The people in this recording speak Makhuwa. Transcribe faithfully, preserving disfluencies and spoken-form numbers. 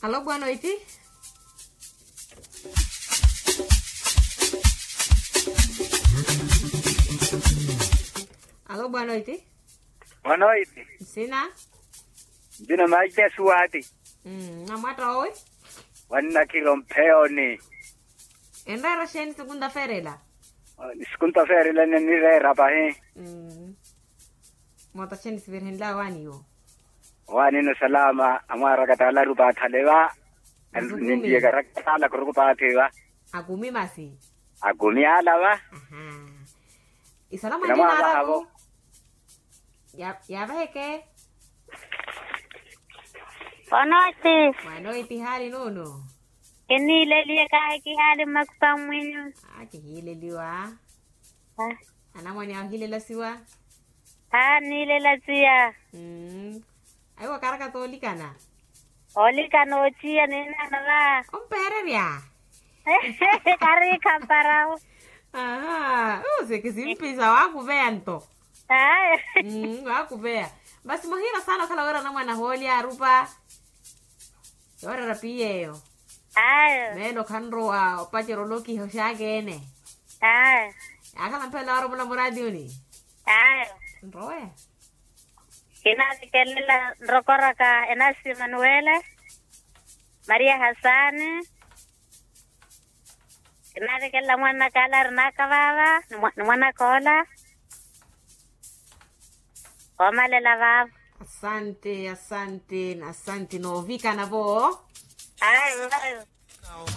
Alo bwanoiti. Alo bwanoiti. Bwanoiti. Nsina. Nsina maija suwati. Namwatta owi. Wannakhira ompheyoni. Enreera xeeni sikunta feerela? Sikunta feerela nireera pahi. Moota xeeni sivirhenlaya waaniwo? Owaanina osalama amwaaraka taalaru paathale va. Nintiyeka rakataala khuruku paathi va. Akumi masi. Akumi ala va. Isala mwanina araku. Yaavaheke. Onooti. Mwanoiti haali nuno? Kiniileliye kahi kihaali mmakupa mwinyu. Kihiileliwa. Anamwane ahilela siwa. Haa niilela siya. Aiwa karaka toolikana. Oolikana ochiya ninaana va. Ompeererya. Kariikha mparawo. Aha. Use kisimpisa waakuveya nto. Aya. Waakuveya. Masi muhiira saana okhala wira anamwane ahoolya arupa. Yoorera piya eyo. Aya. Meelo khanrowa opacerya olokiha oxaakeene. Aya. Yaakhala mphela waromola muraatiyuni. Aya. Nrowe. Kinaavikelela nrokoraka enasi emanuwele, maria hasaani. Kinaavikelela mwanaka ala arinaka vaava ni mwanaka ola. Oomalela vaavo. Asante asante. Asante noovikana vo. Ayo ayo.